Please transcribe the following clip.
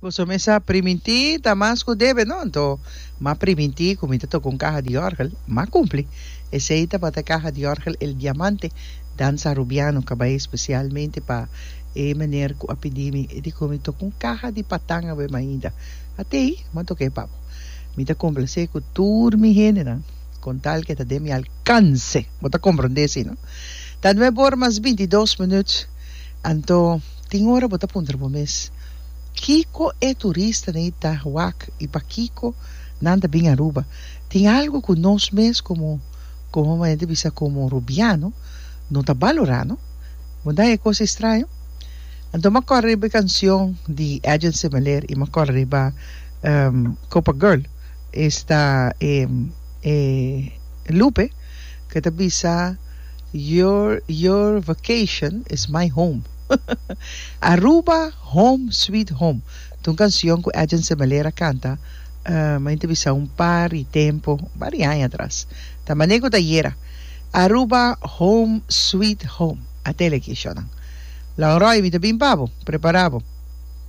Boso mes a primintí ta mas ku debe, no? Anto m'a primintí ku mi ta toka un kaha di òrgel. M'a kumpli. Esei tabata e kaha di òrgel El Diamante, Danza Arubiano, ku a bai espesialmente pa e meneer ku a pidi mi. E di ku mi toka un kaha di patan awe mainta. Atei, m'a tok'é pa bo. Mi ta komplasé ku tur mi hendenan, kon tal ke ta den mi alkanse. Bo ta komprondé si, no? Ta nuebe or mas bintidos minüt. Anto, tin ora bo ta puntra bo mes, Kiko e turistanan ei ta wak i pakiko nan ta bin Aruba? Tin algu ku nos mes komo, komo manera di bisa komo Rubiano no ta balorá, no? Bo ta haña e kos estraño? Anto m'a kòrda riba e kansion di Edjean Semeleer i m'a kòrda riba Copa Girl, esta e e Lupe ku ta bisa Your your vacation is my home. Aruba Home Sweet Home ta un canción cu Edjean Semeleer a canta mi ta bisa un par di tempo, un par di aña atras. Ta mane cu ta ayera. Aruba Home Sweet Home. A tele aki, shownan. Lonroy, mi ta bin pa bo. Prepara bo.